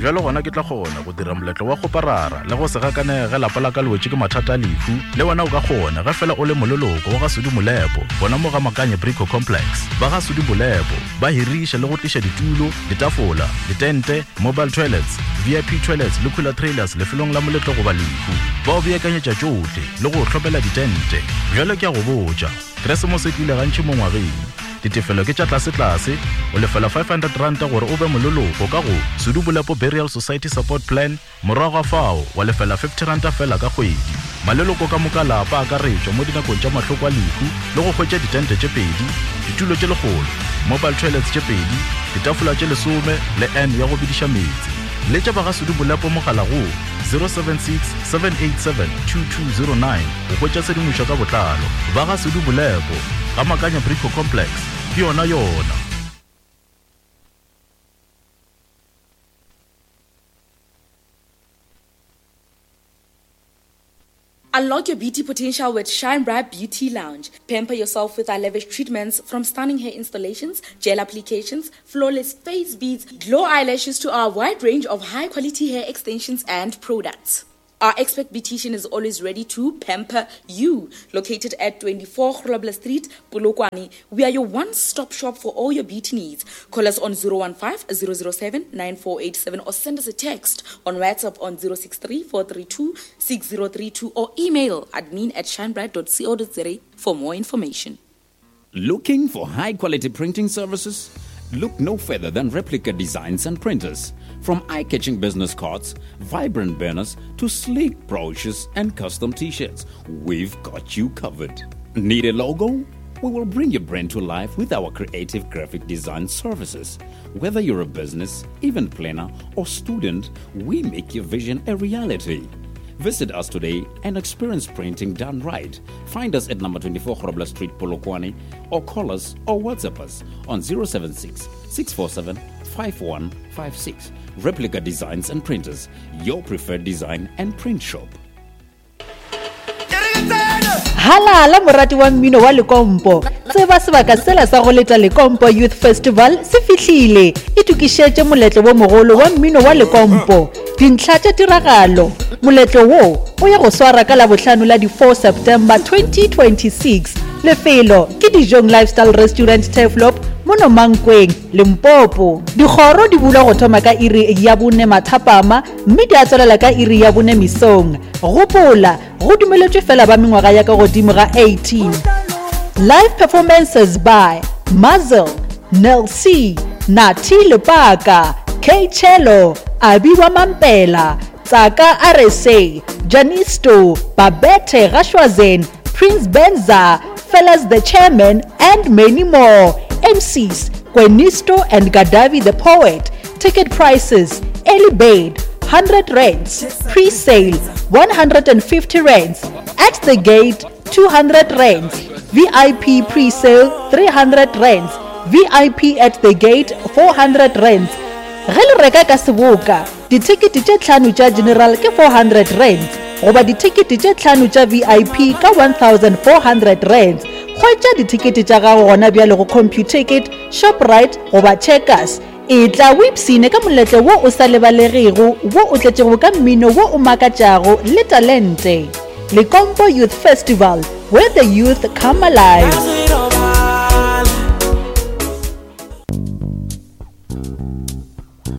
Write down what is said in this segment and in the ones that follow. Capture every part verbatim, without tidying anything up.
Bjalo gona ke tla kgona go dira moletlo wa kgoparara le go se gakanege ge lapa la ka le wetše ke mathata a lehu. Le wena o ka kgona ge fela o le moleloko wa ga Sudi Molepo gona mo ga Makanye Brico Complex. Ba ga Sudi Molepo ba hiriša le go tliša ditulo, ditafola, ditente, mobile toilets, V I P toilets le cooler trailers lefelong la moletlo goba lehu. Ba o beakanyetša tšohle le go hlopela ditente. Bjalo ke a go botša, Keresemose e tlile gantši mo ngwageng. Ditefelo ke tša tlase-tlase, o lefela five hundred ranta gore o be moleloko ka go Sudi Bolepo Burial Society Support Plan, morago ga fao wa lefela fifty ranta fela ka kgwedi. Maleloko ka moka lapa a akaretšwa mo dinakong tša mahloko a lehu le go hwetša ditente tše pedi, ditulo tše lekgolo, mobile toilets tše pedi, ditafola tše lesome le N ya go bidiša meetse. Letša ba ga Sudi Bolepo mogala go zero seven six, seven eight seven, two two zero nine go hwetša tshedimošo ka botlalo. Ba ga Sudi Bolepo ga Makanya Brico Complex ke yona yona. Unlock your beauty potential with Shine Bright Beauty Lounge. Pamper yourself with our lavish treatments, from stunning hair installations, gel applications, flawless face beads, glow eyelashes to our wide range of high-quality hair extensions and products. Our expert beautician is always ready to pamper you. Located at twenty-four Grobler Street, Polokwane, we are your one-stop shop for all your beauty needs. Call us on zero one five, zero zero seven, nine four eight seven or send us a text on WhatsApp on zero six three, four three two, six zero three two or email admin at shinebright dot co dot za for more information. Looking for high-quality printing services? Look no further than Replica Designs and Printers. From eye-catching business cards, vibrant banners, to sleek brochures and custom t-shirts, we've got you covered. Need a logo? We will bring your brand to life with our creative graphic design services. Whether you're a business, event planner, or student, we make your vision a reality. Visit us today and experience printing done right. Find us at number twenty-four Grobler Street, Polokwane, or call us or WhatsApp us on zero seven six, six four seven, five one five six. Replica Designs and Printers, your preferred design and print shop. Halala morati wa mmino wa Lekompo. Tseba sebaka sela sa go leta Lekompo Youth Festival se fihlile. Itokišetše moletlo wo mogolo wa mmino wa Lekompo. Dintlha tša tiragalo. Moletlo wo o ya go swara ka Labohlano la di four September twenty twenty-six. Lefelo ke Dijong Lifestyle Restaurant Turfloop mono Mankweng, Limpopo. Dikgoro di bulwa go thoma ka iri ya bone mathapama mme di a tswelela ka iri ya bone mesong. Gopola, go dumeletšwe fela ba mengwaga ya ka godimo ga eighteen. Live performances by Mazel, Nel C, Nathi Lepaka, K Chelo, Abiwa Mampela, Tsaka R S A, Janisto, Babette Gashwazen, Prince Benza, Fellas the Chairman, and many more. M Cs, Gwenisto and Gadavi the Poet. Ticket prices, early bird, hundred rands, pre-sale, one hundred and fifty rands, at the gate, two hundred rands, V I P pre-sale, three hundred rands, V I P at the gate, four hundred rands. Ge le reka ka seboka, dithekete tše tlhano tša general ke four hundred rands, goba dithekete tše tlhano tša V I P ka one thousand four hundred rands. Hwetša dithekete tša gago gona bjale go Computicket, Shoprite goba Checkers. E tla o ipsine ka moletlo wo o sa lebalegego, wo o tletšego ka mmino wo o makatšago le talente. Lekompo Youth Festival, where the youth come alive.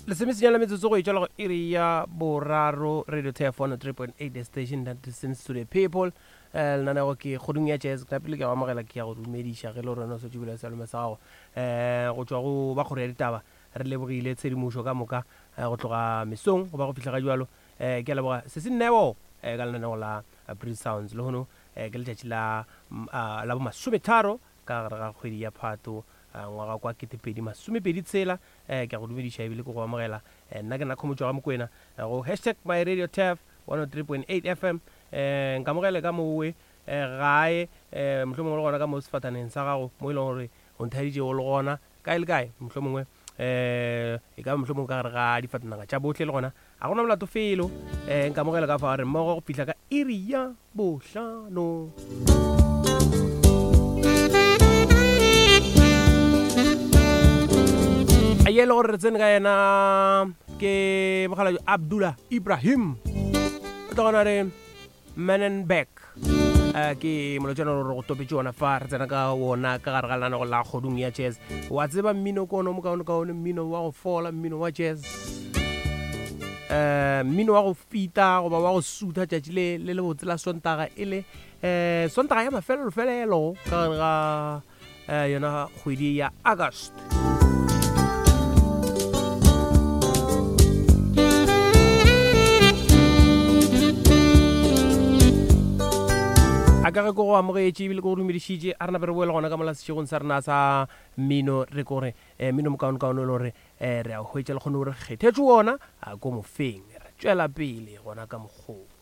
Lesemisinyana metsotso go e tšwela go iri ya boraro, Radio Turf one oh three point eight, the station that listens to the people. Eh, lenanego ke kgodung ya jazz. Ka pele ke a go amogela, ke ya go dumediša ge le gore wena o swetše bula sealome sa gago. Eh, go tšwa go ba kgoro ya ditaba, re lebogile tshedimošo ka moka, eh, go tloga mesong go ba go fihla ga jwalo. Eh, ke a leboga se se neo, eh, ka lenanego la Breeze Sounds. Lehono, eh, ke letšatši la, mm, ah, la bomasometharo ka gare ga kgwedi ya Phato, ah, ngwaga kwa ketepedi masomepedi tshela. Eh, ke a go dumediša ebile ke go amogela. Eh, nna ke nna Khomotšo ga Mokwena, eh, go hashtag my radio turf one oh three point eight F M. Eh, nkamogele ka mowe, eh, gae, eh, mohlomongwe le gona ka mo sefataneng sa gago, mo e leng gore o nthaditše o le gona kae le kae, mohlomongwe, eh, e ka ba mohlomongwe ka gare ga difatanaga tša bohle le gona a gona molato felo. Eh, nkamogele ka fa re mmogo go fihla ka iri ya bohlano. A ye le gore re tsene ka yena Ke mokgalabje Abdullah Ibrahim o tla gona re Manenberg. Uh, ke molotšana gore go topetše ona fa re tsena ka wona ka gare ga lenanego la Kgodung ya Jazz. Wa tseba mmino ke ona o mokaonekaone, mmino wa go fola, mmino wa jazz, um mmino wa go fita goba wa go sutha tšatši le le lebotse la Sontaga, e le um Sontaga ya mafelelo-felelo ka gare ga um yona kgwedi ya August. A ka ge ko go amogetše ebile ko go dumedišitše, a re nape re boele gona ka mola sešegong sa rena sa mmino, re kore um mmino mokaonekaone e le gore um re a hwetša le kgone gore kgethetše wona a ko mofeng, re tšwela pele gona ka mokgong.